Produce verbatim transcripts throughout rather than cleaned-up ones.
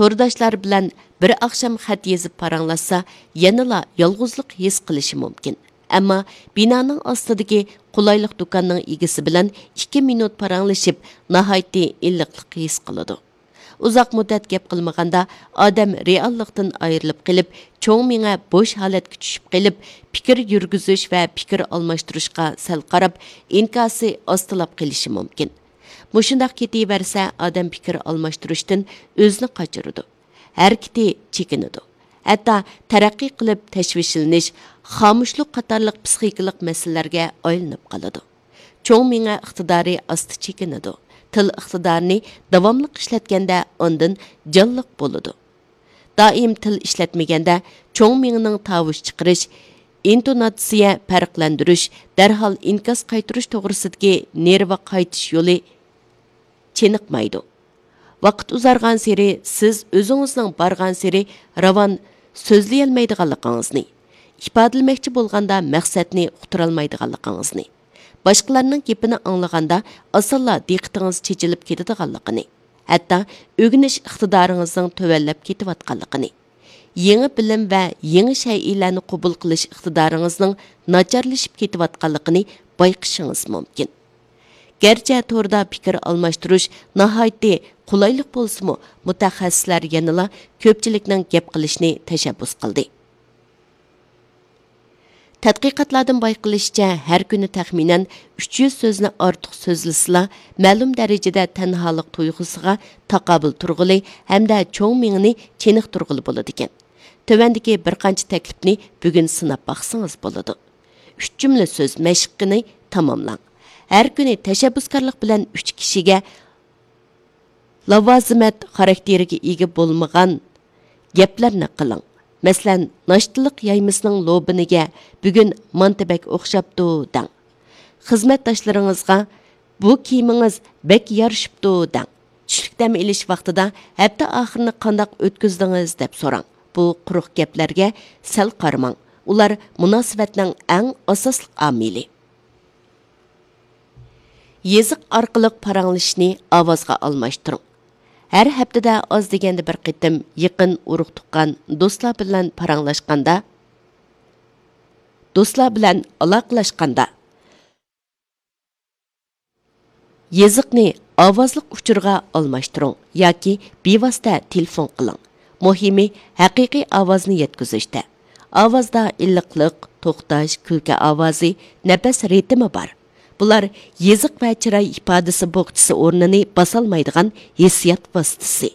تورداشلار بىلەن بىر ئاخشام خەت يېزىپ پاراڭلاشسا، يەنىلا يالغۇزلۇق ھېس قىلىشى مۇمكىن. ئەمما بىنانىڭ ئاستىدىكى قولايلىق دۇكاننىڭ ئىگىسى بىلەن ئىككى مىنۇت پاراڭلىشىپ، ناھايىتى ئىللىقلىق ھېس قىلىدۇ. ئۇزاق مۇددەت گەپ قىلمىغاندا، ئادەم رېئاللىقتىن ئايرىلىپ قېلىپ، چوڭ مېڭە بوش ھالەتكە چۈشۈپ قېلىپ، پىكىر يۈرگۈزۈش ۋە پىكىر ئالماشتۇرۇشقا سەل قاراپ، ئىنكاسى ئاستىلاپ قېلىشى مۇمكىن. مۇشۇنداق كېتىۋەرسە، ئادەم پىكىر ئالماشتۇرۇشتىن ئۆزىنى قاچۇرىدۇ. ھەرىكىتى چېكىنىدۇ. ھەتتا تەرەققىي قىلىپ تەشۋىشلىنىش، خامۇشلۇق قاتارلىق پسىخىكىلىق مەسىلىلەرگە ئايلىنىپ قالىدۇ. چوڭ مېڭە ئىقتىدارى ئاستا چېكىنىدۇ. تىل ئىقتىدارىنى داۋاملىق ئىشلەتكەندە ئاندىن جانلىق بولىدۇ. دائىم تىل ئىشلەتمىگەندە چوڭ مېڭىنىڭ تاۋۇش چىقىرىش، ئىنتوناتسىيە پەرقلەندۈرۈش، دەرھال ئىنكاس قايتۇرۇش توغرىسىدىكى نېرۋا قايتىش يولى چېنىقمايدۇ. ۋاقىت ئۇزارغانسېرى سىز ئۆزىڭىزنىڭ بارغانسېرى راۋان سۆزلىيەلمەيدىغانلىقىڭىزنى، ئىپادىلىمەكچى بولغاندا مەقسەتنى ئۇقتۇرالمايدىغانلىقىڭىزنى، باشقىلارنىڭ گېپىنى ئاڭلىغاندا ئاسانلا دىققىتىڭىز چېچىلىپ كېتىدىغانلىقىنى، ھەتتا ئۆگىنىش ئىقتىدارىڭىزنىڭ تۆۋەنلەپ كېتىۋاتقانلىقىنى، يېڭى بىلىم ۋە يېڭى شەيئىلەرنى قوبۇل قىلىش ئىقتىدارىڭىزنىڭ ناچارلىشىپ كېتىۋاتقانلىقىنى بايقىشىڭىز مۇمكىن. گەرچە توردا پىكىر ئالماشتۇرۇش ناھايىتى قولايلىق بولسىمۇ، مۇتەخەسسىسلەر يەنىلا كۆپچىلىكنىڭ گەپ قىلىشىنى تەشەببۇس قىلدى. تەتقىقاتلاردىن بايقىلىشىچە، ھەر كۈنى تەخمىنەن ئۈچ يۈز سۆزنى ئارتۇق سۆزلىسىلا، مەلۇم دەرىجىدە تەنھالىق تۇيغۇسىغا تاقابىل تۇرغىلى ھەمدە چوڭ مېڭىنى چېنىقتۇرغىلى بولىدىكەن. تۆۋەندىكى بىر قانچە تەكلىپنى بۈگۈن سىناپ باقسىڭىز بولىدۇ. ئۈچ جۈملە سۆز مەشىقىنى تاماملاڭ. ھەر كۈنى تەشەببۇسكارلىق بىلەن ئۈچ كىشىگە لاۋازىمەت خاراكتېرىگە ئىگە بولمىغان گەپلەرنى قىلىڭ. مەسىلەن، ناشتىلىق يايمىسىنىڭ لوبىنىگە «بۈگۈن مانتا بەك ئوخشاپتۇ» دەڭ. خىزمەتداشلىرىڭىزغا «بۇ كىيىمىڭىز بەك يارىشىپتۇ» دەڭ. چۈشلۈك دەم ئېلىش ۋاقتىدا «ھەپتە ئاخىرىنى قانداق ئۆتكۈزدىڭىز؟» دەپ سوراڭ. بۇ قۇرۇق گەپلەرگە سەل قارىماڭ. ئۇلار مۇناسىۋەتنىڭ ئەڭ ئاساسلىق ئامىلى. يېزىق ئارقىلىق پاراڭلىشىشنى ئاۋازغا ئالماشتۇرۇڭ. ھەر ھەپتىدە ئاز دېگەندە بىر قېتىم يېقىن ئۇرۇق-تۇغقان، دوستلار بىلەن پاراڭلاشقاندا، دوستلار بىلەن ئالاقىلەشكەندە، يېزىقنى ئاۋازلىق ئۇچۇرغا ئالماشتۇرۇڭ ياكى بىۋاسىتە تېلېفون قىلىڭ. مۇھىمى، ھەقىقىي ئاۋازنى يەتكۈزۈشتە. ئاۋازدا ئىللىقلىق، توختاش، كۈلكە ئاۋازى، نەپەس رىتىمى بار. بۇلار يېزىق ۋە چىراي ئىپادىسى بوخچىسى ئورنىنى باسالمايدىغان ھېسسىيات ۋاسىتىسى.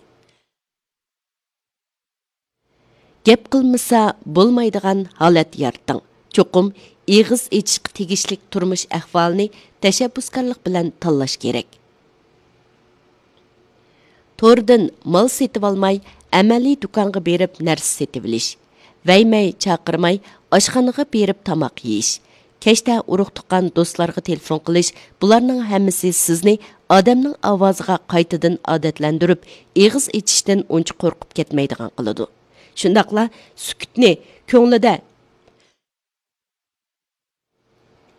گەپ قىلمىسا بولمايدىغان ھالەت يارىتىڭ. چوقۇم ئېغىز ئېچىشقا تېگىشلىك تۇرمۇش ئەھۋالىنى تەشەببۇسكارلىق بىلەن تاللاش كېرەك. توردىن مال سېتىۋالماي، ئەمەلىي دۇكانغا بېرىپ نەرسە سېتىۋېلىش. ۋەيمەي، چاقىرماي، ئاشخانىغا بېرىپ تاماق يېيىش. كەچتە ئۇرۇق-تۇغقان، دوستلارغا تېلېفون قىلىش، بۇلارنىڭ ھەممىسى سىزنى ئادەمنىڭ ئاۋازىغا قايتىدىن ئادەتلەندۈرۈپ، ئېغىز ئېچىشتىن ئۇنچە قورقۇپ كەتمەيدىغان قىلىدۇ. شۇنداقلا سۈكۈتنى كۆڭلىدە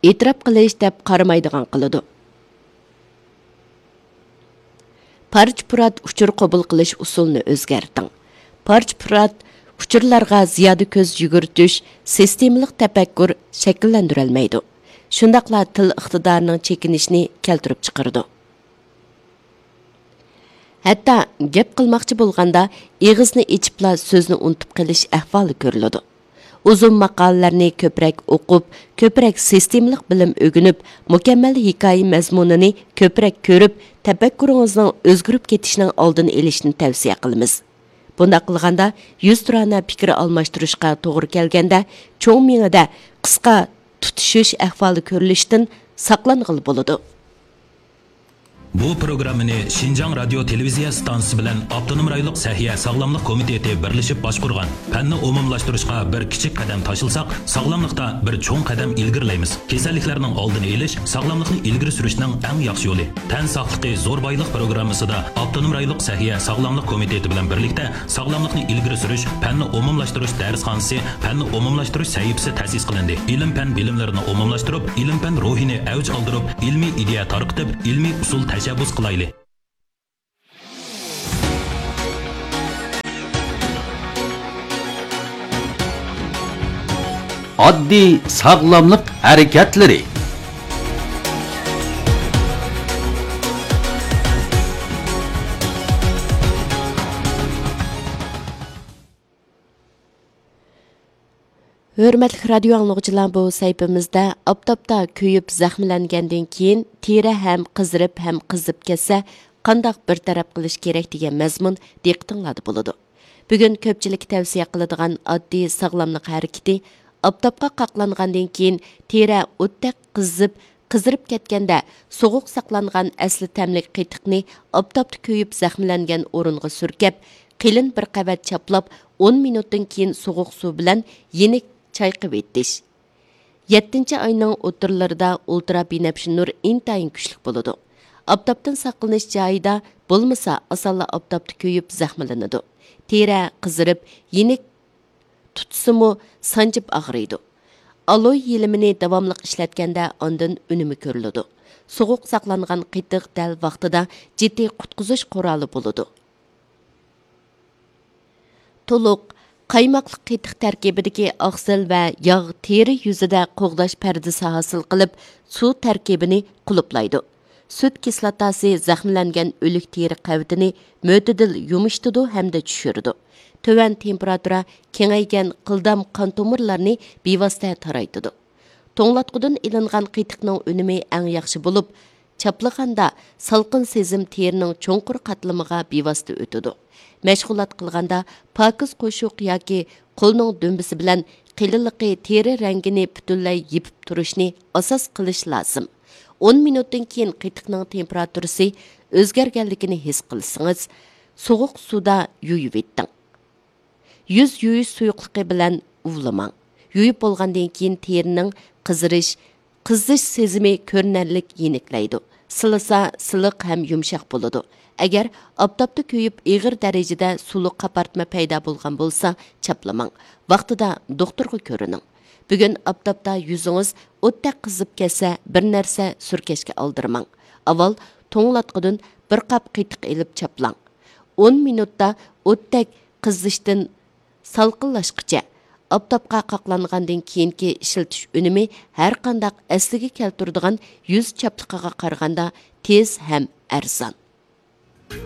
ئېتىراپ قىلىش دەپ قارىمايدىغان قىلىدۇ. پارچە-پۇرات ئۇچۇر قوبۇل قىلىش ئۇسۇلىنى ئۆزگەرتىڭ. پارچە-پۇرات ئۇچۇرلارغا زىيادە كۆز يۈگۈرتۈش سىستېمىلىق تەپەككۇر شەكىللەندۈرەلمەيدۇ. شۇنداقلا تىل ئىقتىدارىنىڭ چېكىنىشىنى كەلتۈرۈپ چىقىرىدۇ. ھەتتا گەپ قىلماقچى بولغاندا ئېغىزنى ئېچىپلا سۆزنى ئۇنتۇپ قېلىش ئەھۋالى كۆرۈلىدۇ. ئۇزۇن ماقالىلەرنى كۆپرەك ئوقۇپ، كۆپرەك سىستېمىلىق بىلىم ئۆگىنىپ، مۇكەممەل ھېكايە مەزمۇنىنى كۆپرەك كۆرۈپ، تەپەككۇرىڭىزنىڭ ئۆزگىرىپ كېتىشىنىڭ ئالدىنى ئېلىشنى تەۋسىيە قىلىمىز. بۇنداق قىلغاندا، يۈزتۇرانە پىكىر ئالماشتۇرۇشقا توغرا كەلگەندە، چوڭ مېڭىدە قىسقا تۇتىشىش ئەھۋالى كۆرۈلۈشتىن ساقلانغىلى بولىدۇ. بۇ پروگراممىنى شىنجاڭ رادىيو تېلېۋىزىيە ئىستانسىسى بىلەن ئاپتونوم رايونلۇق سەھىيە ساغلاملىق كومىتېتى بىرلىشىپ باشقۇرغان. پەننى ئومۇملاشتۇرۇشقا بىر كىچىك قەدەم تاشلىساق، ساغلاملىقتا بىر چوڭ قەدەم ئىلگىرىلەيمىز. كېسەللىكلەرنىڭ ئالدىنى ئېلىش، ساغلاملىقنى ئىلگىرى سۈرۈشنىڭ ئەڭ ياخشى يولى. تەن ساقلىقى زور بايلىق پروگراممىسىدا ئاپتونوم رايونلۇق سەھىيە ساغلاملىق كومىتېتى بىلەن بىرلىكتە ساغلاملىقنى ئىلگىرى سۈرۈش، پەننى ئومۇملاشتۇرۇش دەرسخانىسى، پەننى ئومۇملاشتۇرۇش سەھىپىسى تەسىس قىلىندى. ئىلىم-پەن بىلىملىرىنى ئومۇملاشتۇرۇپ، ئىلىم-پەن روھىنى ئەۋج ئالدۇرۇپ، ئىلمىي ئىدىيە تارقىتىپ، ئىلمىي ئۇسۇل تەشەببۇس قىلايلى. ئاددىي ساغلاملىق ھەرىكەتلىرى. ھۆرمەتلىك رادىيو ئاڭلىغۇچىلار، بۇ سەھىپىمىزدە ئاپتاپتا كۆيۈپ زەخىملەنگەندىن كېيىن تېرە ھەم قىزىرىپ ھەم قىزىپ كەتسە، قانداق بىر تەرەپ قىلىش كېرەك دېگەن مەزمۇن دىققىتىڭلاردا بولىدۇ. بۈگۈن كۆپچىلىككە تەۋسىيە قىلىدىغان ئاددىي ساغلاملىق ھەرىكىتى، ئاپتاپقا قاقلانغاندىن كېيىن تېرە ئوتتەك قىزىپ، قىزىرىپ كەتكەندە، سوغۇق ساقلانغان ئەسلى تەملىك قېتىقنى ئاپتاپتا كۆيۈپ زەخىملەنگەن ئورۇنغا سۈركەپ، قېلىن بىر قەۋەت چاپلاپ، ئون مىنۇتتىن كېيىن سوغۇق سۇ بىلەن يېنىك چايقىۋېتىش. يەتتىنچى ئاينىڭ ئوتتۇرىلىرىدا ئۇلترا بىنەپشە نۇر ئىنتايىن كۈچلۈك بولىدۇ. ئاپتاپتىن ساقلىنىش جايىدا بولمىسا، ئاسانلا ئاپتاپتا كۆيۈپ زەخىملىنىدۇ. تېرە قىزىرىپ، يېنىك تۇتسىمۇ سانجىپ ئاغرىيدۇ. ئالوي يېلىمىنى داۋاملىق ئىشلەتكەندە ئاندىن ئۈنۈمى كۆرۈلىدۇ. سوغۇق ساقلانغان قېتىق دەل ۋاقتىدا جىددىي قۇتقۇزۇش قورالى بولىدۇ. تولۇق قايماقلىق قېتىق تەركىبىدىكى ئاقسىل ۋە ياغ تېرە يۈزىدە قوغداش پەردىسى ھاسىل قىلىپ، سۇ تەركىبىنى قۇلۇپلايدۇ. سۈت كىسلاتاسى زەخىملەنگەن ئۆلۈك تېرە قەۋىتىنى مۆتىدىل يۇمشىتىدۇ ھەمدە چۈشۈرىدۇ. تۆۋەن تېمپېراتۇرا كېڭەيگەن قىلدام قان تومۇرلارنى بىۋاسىتە تارايتىدۇ. توڭلاتقۇدىن ئېلىنغان قېتىقنىڭ ئۈنۈمى ئەڭ ياخشى بولۇپ، چاپلىغاندا سالقىن سېزىم تېرىنىڭ چوڭقۇر قاتلىمىغا بىۋاسىتە ئۆتىدۇ. مەشغۇلات قىلغاندا پاكىز قوشۇق ياكى قولنىڭ دۈمبىسى بىلەن قېلىنلىقى تېرە رەڭگىنى پۈتۈنلەي يېپىپ تۇرۇشنى ئاساس قىلىش لازىم. ئون مىنۇتتىن كېيىن قېتىقنىڭ تېمپېراتۇرىسى ئۆزگەرگەنلىكىنى ھېس قىلسىڭىز، سوغۇق سۇدا يۇيۇۋېتىڭ. يۈز يۇيۇش سۇيۇقلۇقى بىلەن ئۇۋىلىماڭ. يۇيۇپ بولغاندىن كېيىن تېرىنىڭ قىزىرىش، قىزىش سېزىمى كۆرۈنەرلىك يېنىكلەيدۇ. سىلىسا سىلىق ھەم يۇمشاق بولىدۇ. ئەگەر ئاپتاپتا كۆيۈپ ئېغىر دەرىجىدە سۇلۇق قاپارتما پەيدا بولغان بولسا، چاپلىماڭ. ۋاقتىدا دوختۇرغا كۆرۈنۈڭ. بۈگۈن ئاپتاپتا يۈزىڭىز ئوتتەك قىزىپ كەتسە، بىر نەرسە سۈركەشكە ئالدىرىماڭ. ئاۋۋال توڭلاتقۇدىن بىر قاپ قېتىق ئېلىپ چاپلاڭ. ئون مىنۇتتا ئوتتەك قىزىشتىن سالقىنلاشقىچە، ئاپتاپقا قاقلانغاندىن كېيىنكى ئىشلىتىش ئۈنۈمى ھەرقانداق ئەسلىگە كەلتۈرىدىغان يۈز چاپلىقىغا قارىغاندا تېز ھەم ئەرزان.